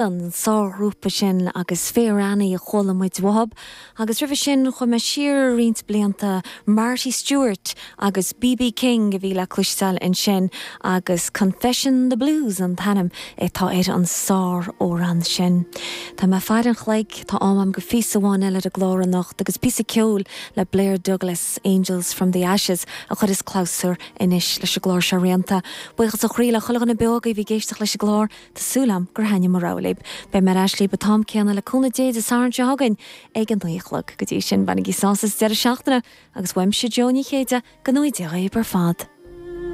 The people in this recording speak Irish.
An sárghrúpa sin agus Fair Annie a chuala muid uathub. Agus roimhe sin chuaigh mé siar roinnt blianta, Marty Stuart agus BB King a bhí le cloisteáil ansin agus Confession the Blues an t-ainm atá ar an sár-amhrán sin. Tá mé ag faire an chloig, tá am agam go phíosa amháin eile ar an gclár anocht agus píosa ceoil le Blair Douglas, Angels from the Ashes, a chuireas clabhsúr anois leis an gclár seo rianta. Buíochas ó chroí le chuile dhuine beo agaibh a bhí ag éisteacht leis an gclár. Tá súil agam gur thaitnigh mo rogha libh. Beidh mé ar ais libh an t-am céanna le cúnamh Dé Dé Sathairn seo chugainn ag a 9 a chlog. Go dtí sin, bainigí sásamh as an deireadh seachtaine agus uaimse Jó Ní Chéide, go ngnóthaí Dia dhaoibh ar fad.